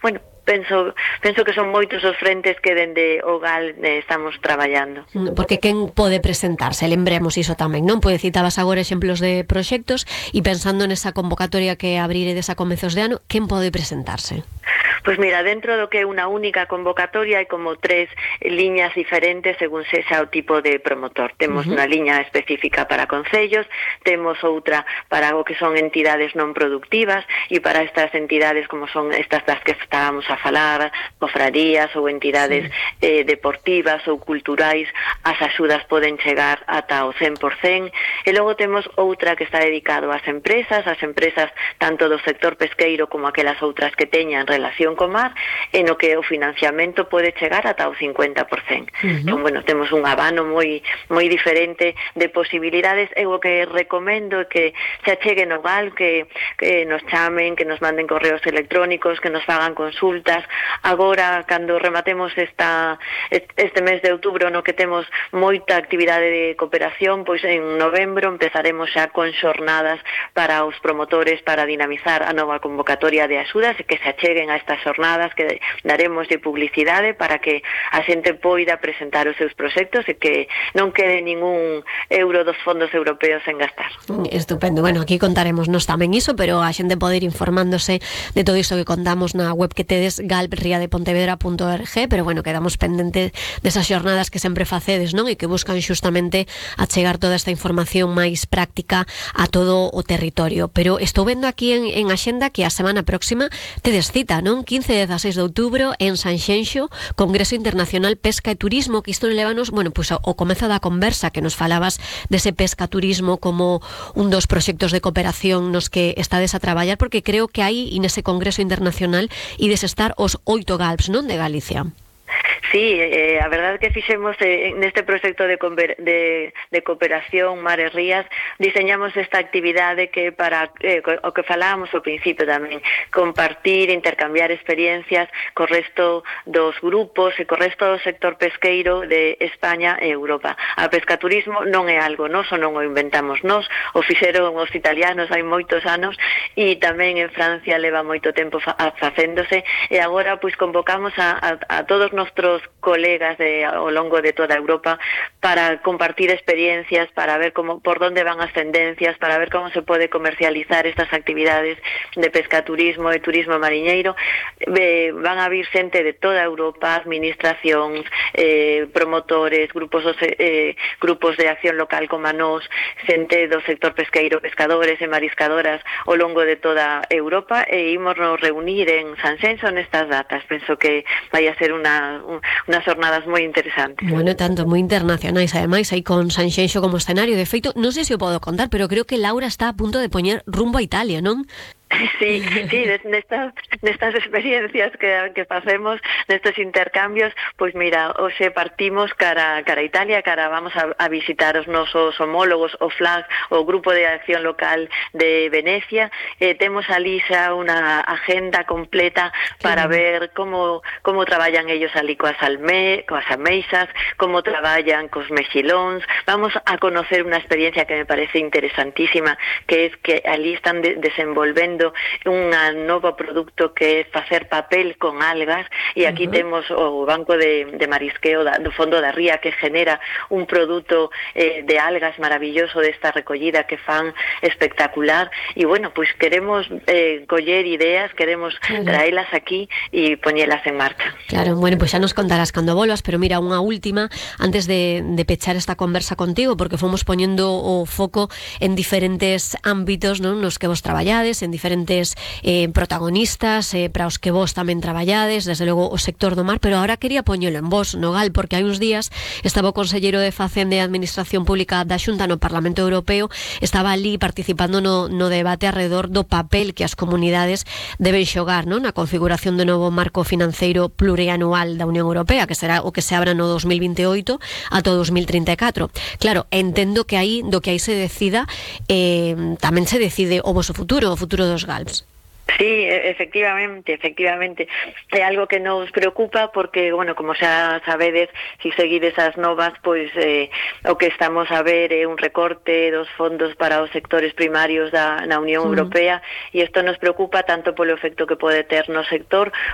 bueno, penso que son moitos os frentes que dende o GAL estamos traballando. Porque quen pode presentarse? Lembremos iso tamén, non? Pode citabas agora exemplos de proxectos e pensando nesa convocatoria que abriredes a comezos de ano, quen pode presentarse? Pois mira, dentro do que é unha única convocatoria hai como 3 liñas diferentes según sexa o tipo de promotor. Temos unha liña específica para concellos, temos outra para o que son entidades non productivas e para estas entidades como son estas das que estábamos a falar, cofradías ou entidades deportivas ou culturais, as axudas poden chegar ata o 100%, e logo temos outra que está dedicado ás empresas tanto do sector pesqueiro como aquelas outras que teñan relación co mar, e no que o financiamento pode chegar ata o 50%. Entón, bueno, temos un abano moi diferente de posibilidades. Eu o que recomendo é que se acheguen ao GAL, que nos chamen, que nos manden correos electrónicos, que nos fagan consultas. Agora, cando rematemos este mes de outubro, no que temos moita actividade de cooperación, pois en novembro empezaremos xa con xornadas para os promotores para dinamizar a nova convocatoria de axudas e que se acheguen a estas xornadas, que daremos de publicidade para que a xente poida presentar os seus proxectos e que non quede ningún euro dos fondos europeos en gastar. Estupendo. Bueno, aquí contaremos nos tamén iso, pero a xente pode ir informándose de todo isto que contamos na web que tedes, galbriadepontevedra.org, pero bueno, quedamos pendentes desas xornadas que sempre facedes, non? E que buscan xustamente achegar toda esta información máis práctica a todo o territorio. Pero estou vendo aquí en axenda que a semana próxima tedes cita, non? 15 e 16 de outubro en Sanxenxo, Congreso Internacional Pesca e Turismo, que isto levanos, bueno, pois ao comezo da conversa que nos falabas dese pesca turismo como un dos proxectos de cooperación nos que estades a traballar, porque creo que aí, nese Congreso Internacional, ides estar os 8 GALPs, non, de Galicia. Sí, a verdade que fixemos neste proxecto de cooperación Mares Rías, diseñamos esta actividade que para o que falábamos ao principio tamén, compartir, intercambiar experiencias co resto dos grupos e co resto do sector pesqueiro de España e Europa. A pescaturismo non é algo noso, non o inventamos nós, o fixeron os italianos hai moitos anos e tamén en Francia leva moito tempo facéndose, e agora pois convocamos a todos nuestros colegas ao longo de toda Europa para compartir experiencias, para ver por dónde van as tendencias, para ver como se pode comercializar estas actividades de pescaturismo e turismo mariñeiro. Van a vir xente de toda Europa, administracións, promotores, grupos de acción local como a nós, xente do sector pesqueiro, pescadores e mariscadoras ao longo de toda Europa, e imos nos reunir en Sanxenxo nestas datas. Penso que vai a ser unas jornadas moi interesantes. Bueno, tanto moi internacionais, ademais, aí con Sanxenxo como escenario. De feito, non sei se o podo contar, pero creo que Laura está a punto de poñer rumbo a Italia, non? Sí, nestas experiencias que facemos, nestes intercambios, pois mira, hoxe partimos cara Italia, vamos a visitar os nosos homólogos, o FLAG, o Grupo de Acción Local de Venecia. Temos ali xa unha agenda completa para ver como traballan ellos ali coas ameixas, como traballan cos mexilóns. Vamos a conocer unha experiencia que me parece interesantísima, que é que ali están desenvolvendo un novo produto que é facer papel con algas, e aquí temos o Banco de Marisqueo do Fondo da Ría, que genera un produto de algas maravilloso desta recollida que fan espectacular, e bueno, pois queremos coller ideas, queremos traelas aquí e poñelas en marcha. Claro, bueno, pois xa nos contarás cando volvas, pero mira, unha última antes de pechar esta conversa contigo, porque fomos poñendo o foco en diferentes ámbitos, non, nos que vos traballades, en diferentes protagonistas para os que vos tamén traballades, desde logo o sector do mar, pero ahora quería poñelo en vos, no GAL, porque hai uns días estaba o conselleiro de Facenda e Administración Pública da Xunta no Parlamento Europeo, estaba ali participando no debate alrededor do papel que as comunidades deben xogar, non, na configuración do novo marco financeiro plurianual da Unión Europea, que será o que se abra no 2028 ata o 2034. Claro, entendo que aí do que aí se decida tamén se decide o voso futuro, o futuro dos GALPs. Sí, efectivamente. É algo que nos preocupa porque, bueno, como xa sabedes, se seguides as novas, pois o que estamos a ver é un recorte dos fondos para os sectores primarios na Unión Europea, e isto nos preocupa tanto polo efecto que pode ter no sector